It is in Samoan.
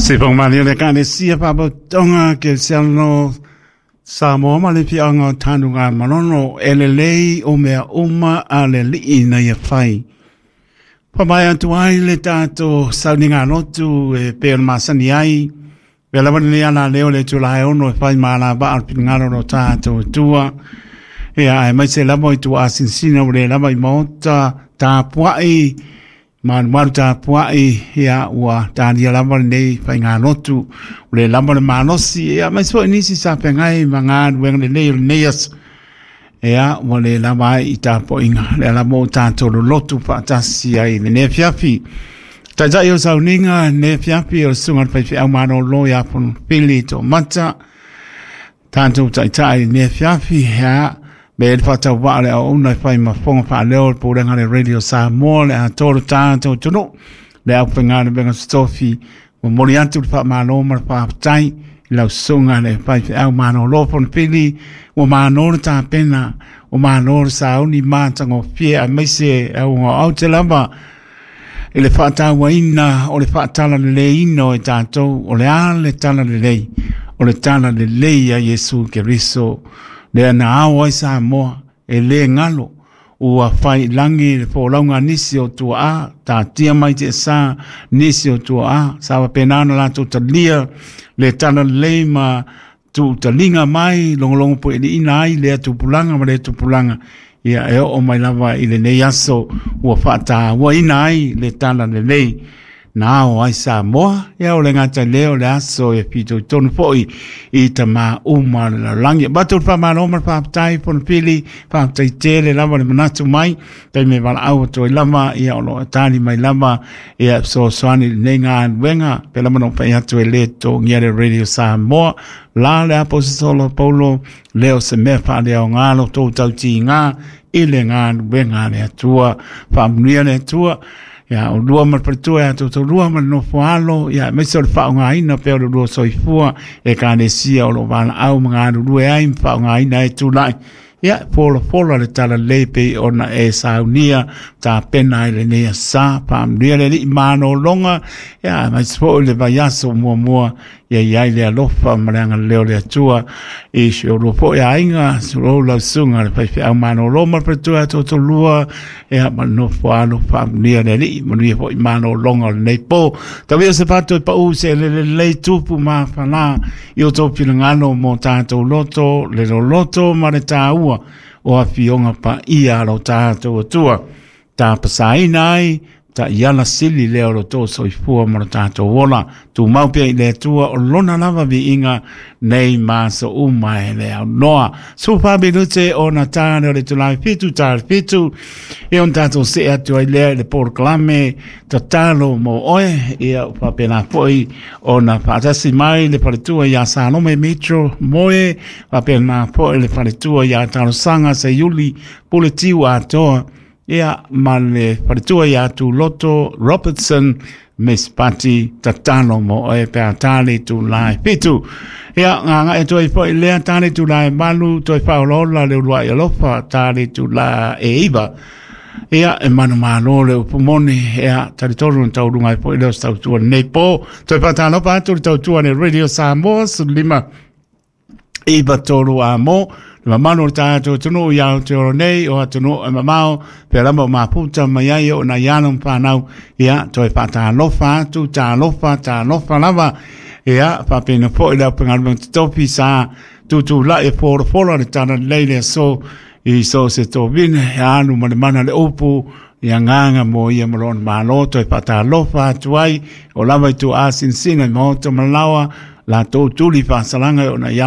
Se whangamani o le Ekalesia Faalapotopotoga Kerisiano Samoa ma le Afioaga o Tanuga Manono e lelei o mea uma a le Alii ina ia fai. Whamae atu ai le tātou sauniga lotu e pei ona masani ai. Pea lava lenei ala leo le itula e 6 e whai māla vaa o le finagalo o lo tātou Atua. Ia, aemaise lava i tua asinsina ua le lava i maota tapuai, malumalu tapuai, ia, ua talia lava lenei faigalotu, ua le lava le malosi, ia, aemaise foi nisi sa feagai ma galuega lelei o lenei aso. Ia, ua le lava ai i tapuaiga, lea lava ua tatou lolotu faatasi ai i lenei afiafi. Taitai o sauniga lenei afiafi o le susuga i le faifeau malolo ia Fonopili Toomata, tatou taitai i lenei afiafi, ia, me le faatauvaa le auauna e fai ma fofoga faaleo o le Pulega a le Radio Samoa, le atoa o le tatou atunuu, le aufaigaluega totofi, momoli atu le faamalo ma le faafetai i lau susuga le faifeau malolo Fonopili, ua malo le tapena, ua malo le sauni matagofie aemaise auga te lava i le faatauaina o le faatalaleleiina o e tatou, o le a le talalelei, o le talalelei a Iesu Keriso, lea na ao ai Samoa, e le galo, ua fai i lagi le folauga a nisi o tuaa, tatia mai te sa nisi o tuaa, sa faapena ona latou talia le talalelei ma tuutaliga mai, logologo pueiliina ai lea tupulaga ma lea tupulaga, ia e oo mai lava i lenei aso ua faatauaina ai le talalelei na ao ai Samoa, ia o le gata i lea o le aso e fitoitonu foi i tamā uma o le lalolagi. Avatu le faamalo ma le faafetai Fonopili, faafetai tele lava le manatu mai, taimi e valaau atu ai lava, ia o lo o tali mai lava, ia fesoasoani i lenei galuega, pei lava ona ou fai atu e le totogia le Radio Samoa, la le Aposetolo Paulo, lea o se mea faaleaoga lo tou tautiga i le galuega a le Atua. Faamanuia le Atua. Ia, o lua ma le faletua, ia toutou lua ma le nofo alo, ia aemaise o le faaaogaina pea o le lua soifua e Ekalesia o lo o valaau ma galulue ai ma faaaogaina ai tulai. Ia, folafola le talalelei pei ona e saunia tapena ai lenei asa. Faamanuia le Alii malologa, ia aemaise foi le vaiaso muamua, ia i ai le alofa ma le agalelei o le Atua i si o lua foi aiga, si o lau susuga le faifeau malolo ma le faletua ia toutou lua, ia ma le nofo alo. Faamanuia le Alii, manuia foi malologa o lenei po. Tau ia se fato e pau se elele lelei tupu ma fala i o tou finagalo mo tatou loto, le loloto ma le tāua o afioga paia a lo tatou Atua. Tapasaina ai taiala sili lea o lo tou soifua ma lo tatou ola. Tumau pea i le Atua o lona lava viiga nei ma aso uma e le aunoa. 14 minute o na tāne o le itula e 7 ta le 7. E on tātou see atu ai lea i le polokalame tatalo mo oe. Ia o faapena foi ona faatasi mai le faletua ia Salome Mitchell Moe, faapena foi le faletua ia Talosaga Seiuli Puletiu Atoa, ia ma le faletua ia Tuloto Robertson Miss Pati tatalo mo oe pe a tā le itula e 7. Ia, ngā atu ai foi lea tā le itula e 8, toe whaolaola le uluai alofa tā le itula e 9. Ia, e manumalo le upu moni, ia, talitonu na taulunga ai foi leo se tautua lenei po. Toe whātālopa atu le tautua le Radio Samoa, 15 9 3 a mo, le mamalu o le tātou atunuu i Aotearoa nei, o atunuu e mamao, pea lava o maputa mai ai o nai alo ma whanau, ia, toe whātālofa atu, tālofa, tālofa lava, ia, whapena foi le aufaigaluega totofi sa tutulai e folafola le talalelei le aso i so se tovine, e alu ma le mana le upu, ia nganga mo ia ma lona malo, toe whātālofa atu ai, o lava i tua asinsina i maota ma lawa, la tō tuli whāsalanga o na